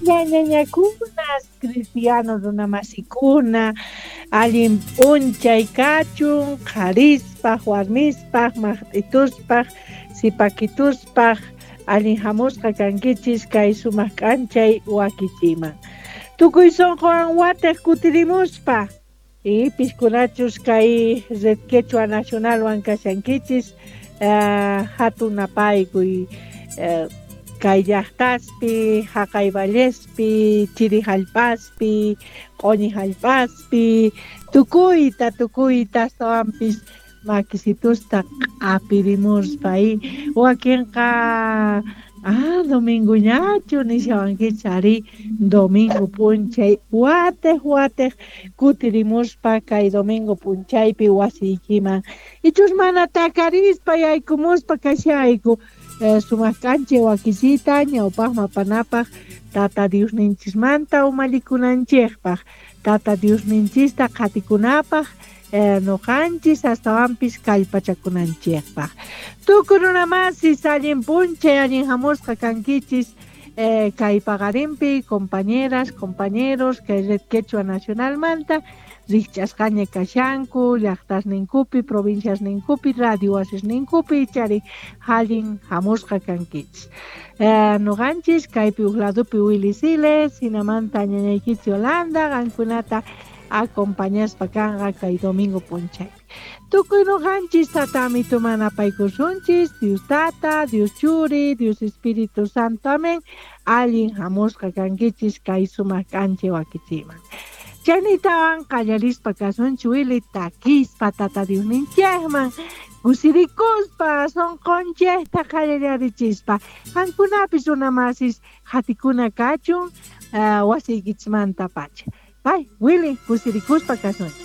Ñañañakunas, cristiano runamasikuna, allin p'unchay kachun, qharispaj, warmispaj, maqt'ituspaj, sipakituspaj, allin hamusqa kankichis kay sumaq k'anchay wakichiman. Tukuy sunquwan watej kutirimuspa, y piskunachus kay Red Quechua Nacionalwan kashankichis, hatun napaykuy kay llaqtaspi, haqay vallespi, chiri hallp'aspi, q'uñi hallp'aspi, tukuyta, tukuyta astawanpis makisitusta q'apirimuspa, y wakinqa domingo ñachu nishawankichis, arí, domingo p'unchay watej watej kutirimuspa kay domingo p'unchaypi wasiykiman, ichus mana takarispa yaykumuspa kashayku, sumaq k'anchay wakisita ñawpaqman apanapaq Tata Diosninchismanta umallikunanchikpaq, Tata Diosninchista qhatikunapaq, noqanchis astawanpis kallpachakunanchikpaq. Tukuy runamasis allin p'unchay allin hamusqa kankichis, kay paqarinpi compañeras, compañeros kay Red Quechua Nacionalmanta rikch'asqaña kashanku llaqtasninkupi, provinciasninkupi, radio wasisninkupi, ichari allin hamusqa kankichis. Noqanchis kaypi uj ladopi Willy Siles, hinamanta ñañaykichis Yolanda, qankunata acompañaspa kanqa kay domingo p'unchaypi. Tukuy noqanchis Tata Amituman apaykusunchis, Dios Tata, Dios Churi, Dios Espíritu Santo, amén. Allin hamusqa kankichis kay sumaq k'anchay wakichiman. Chaynitawan qallarispa kasunchis Willy takispa Tata Diosninchikman, kusirikuspa, sunqunchikta qallarichispa. Qankunapis runamasis hatikuna kachun, wasiykichismanta pacha. Ay, Willy, kusirikuspa kasunchis.